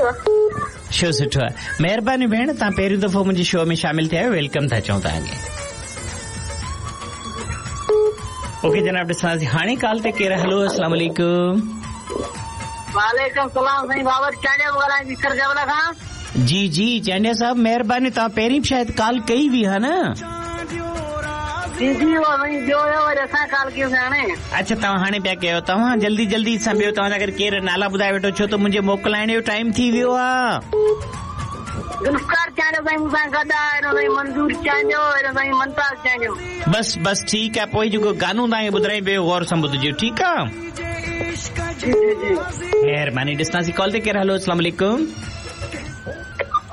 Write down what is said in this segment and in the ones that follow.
Show सुठो आहे। महिरबानी भेण, तव्हां पहिरियों दफ़ो मुंहिंजे शो में शामिल थिया आहियो, welcome था चऊं तव्हांखे। ओके जनाब, ॾिसंदासीं हाणे कॉल ते केरु। हलो, अस्सलाम वालेकुम। वालेकुम सलाम साईं, बाबर चांडिया ॻाल्हायां थी सर जबल खां। जी जी चांडिया साहब, महिरबानी, तव्हां पहिरीं बि शायदि कॉल कई हुई हा न? जी जी, उहो साईं ॿियो हुयो, वरी असां कॉल कयूंसीं हाणे। अच्छा, तव्हां हाणे पिया कयो, तव्हां जल्दी जल्दी सां ॿियो तव्हांजा अगरि केरु नाला ॿुधाए वेठो, छो त मुंहिंजे मोकिलाइण जो टाइम थी वियो आहे। गुलकार चांडियो साईं मूंसां गॾु आहे, हेॾो साईं मंज़ूर चांडियो, हेॾो साईं मुमताज़ चांडियो। बस बस ठीकु आहे, पोइ जेको गानो तव्हांखे ॿुधायां पियो ग़ौर सां ॿुधजो, ठीकु आहे? जी जी जी, महिरबानी। ॾिसंदासीं कॉल ते केरु। हलो, अस्सलाम वालेकुम।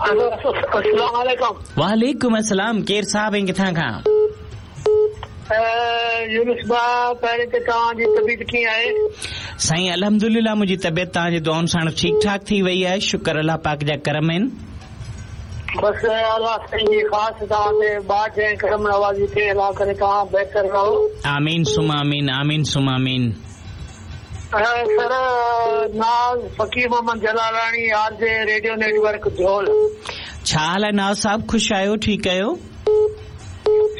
अस्सलाम वालेकुम। वालेकुम अस्सलाम। केरु साहब ऐं किथां खां? यूनुस भाउ, पहिरीं त तव्हांजी तबीयत कीअं आहे? साईं अल्हम्दुलिल्लाह, मुंहिंजी तबीयत तव्हांजी दुआउनि सां ठीकु ठाक थी वई आहे, शुक्र अल्लाह पाक जा करम आहिनि। बसि अल्लाह साईं जी ख़ासि तव्हां ते बाज ऐं करम नवाज़ी थिए, अल्लाह करे तव्हां बहितर रहो। आमीन सुम आमीन, आमीन सुम आमीन। सर, नाज़ फ़क़ीर मोहम्मद जलालानी, आरजे रेडियो नेटवर्क झोल। छा हाल आहे नाज़ साहब, ख़ुशि आहियो, ठीकु आहियो?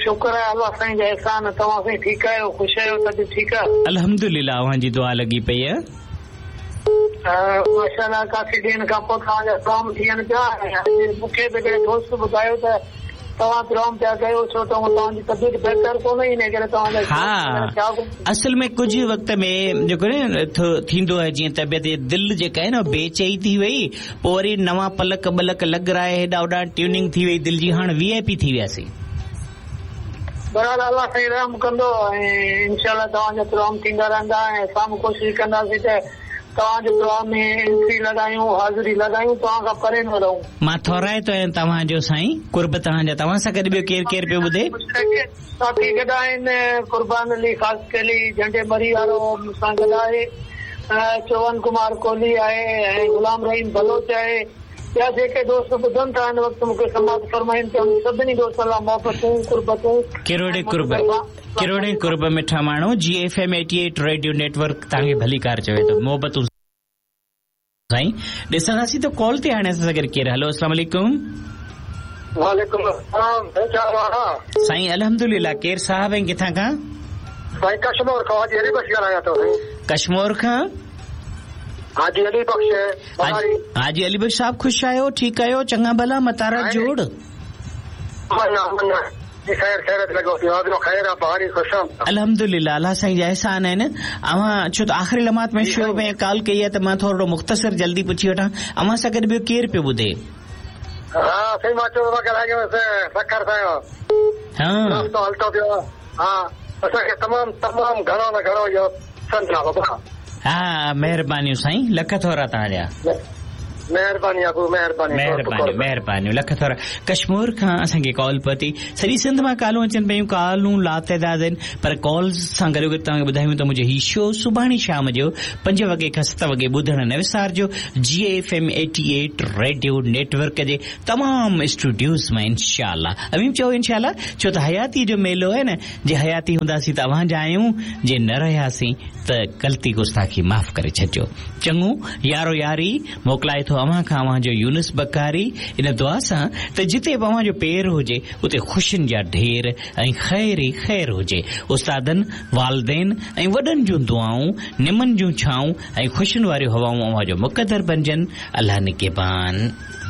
शुक्र आहे अल्लाह साईं जा एहसान, तव्हां साईं ठीकु आहियो, ख़ुशि आहियो, तबियत ठीकु आहे? अल्हम्दुलिल्लाह, अव्हांजी दुआ लॻी पई आहे। माशाअल्लाह, काफ़ी ॾींहनि खां पोइ तव्हांजा प्रोग्राम थियनि पिया। मूंखे बि हिकिड़े दोस्त ॿुधायो त तव्हां प्रोग्राम पिया कयो, छो त तव्हांजी तबियत बहितर कोन्हे, इन करे तव्हांजा। हा, असल में कुझु वक़्त में जेको न थींदो आहे, जीअं तबियत दिलि जेका आहे न बेचई थी वई, पोइ वरी नवां पलक बलक लॻराए हेॾा होॾा ट्यूनिंग थी वई दिलि जी, हाणे वीआईपी थी वियासीं। बहरहाल अल्लाह साईं रहम कंदो ऐं इंशाअल्लाह तव्हांजा प्रोग्राम थींदा रहंदा ऐं असां बि कोशिशि कंदासीं त तव्हांजे प्रोग्राम में एंट्री लॻायूं, हाज़िरी लॻायूं, तव्हां खां परे न रहूं। मां थोराइतो आहियां तव्हांजो साईं, कुर्ब तव्हांजा। तव्हां सां गॾु ॿियो केरु केरु पियो ॿुधे? साथी गॾु आहिनि, कुर्बान अली ख़ासकेली झंडे मरी वारो मूंसां गॾु आहे, चौहान कुमार कोहली आहे ऐं ग़ुलाम रहीम बलोच आहे। ॿिया जेके दोस्त ॿुधनि था हिन वक़्तु मूंखे समात फरमाइनि था, सभिनी दोस्तनि लाइ मोहबतूं, कुर्बतूं, किरोड़े कुर्ब, किरोड़े कुर्ब मिठा माण्हू। जी एफ एम 88 रेडियो नेटवर्क तव्हांखे भलीकार चवे थो, मोहबतूं साईं। ॾिसंदासीं त कॉल ते हाणे असां सां गॾु केरु। हलो, अस्सलाम वालेकुम। वालेकुम अस्सलाम। साईं अल्हम्दुलिल्लाह। केरु साहब ऐं किथां खां? साईं कश्मोर खां, हाजी अली बख्श ॻाल्हायां थो। कश्मोर खां हाजी अली बख्श। हाजी अली बख्श साहब, ख़ुशि आहियो, ठीकु आहियो? चङा भला, मतारा जोड़? अल्हम्दुलिल्लाह, अल्लाह साईं जा एहसान आहिनि। अव्हां छो त आख़िरी लम्हात में शो में कॉल कई आहे त मां थोरो मुख़्तसर जल्दी पुछी वठां, अव्हां सां गॾु ॿियो केरु पियो ॿुधे? हा साईं, मां चयो सखर सां। हा, हलतो पियो। हा, असांखे तमामु तमामु घणो न घणो इहो पसंदि आहे बाबा। हा, महिरबानियूं साईं, लख थोरा तव्हांजा। महिरबानी अबू, महिरबानी, महिरबानी, महिरबानी, लख थोरा। कश्मोर खां असांखे कॉल पहुती, सॼी सिंध मां कॉलूं अचनि पियूं, कॉलूं लातदाद आहिनि, पर कॉल सां गॾो गॾु तव्हांखे ॿुधायूं त मुंहिंजो हीउ शो सुभाणे शाम जो 5 वॻे खां 7 वॻे ॿुधण न विसारिजो, जी एफ एम 88 रेडियो नेटवर्क जे तमामु स्टूडियोज़ मां इंशाअल्लाह। अवीं चओ इंशाअल्लाह, छो त हयाती जो मेलो आहे न, जे हयाती हूंदासीं त अव्हां जा आहियूं, जे न रहियासीं त ग़लती गुस्ताखी माफ़ करे छॾिजो। चङो यारो यारी मोकिलाए थो अव्हां खां अव्हांजो यूनुस बकारी, इन दुआ सां त जिते बि अव्हांजो पेर हुजे उते ख़ुशियुनि जा ढेर ऐं ख़ैर ई ख़ैर हुजे। उस्तादनि, वालदेन ऐं वॾनि जूं दुआऊं, निमनि जूं छाऊं ऐं ख़ुशियुनि वारियूं हवाऊं अव्हांजो मुक़दर बणिजनि। अल्लाह निगहबान।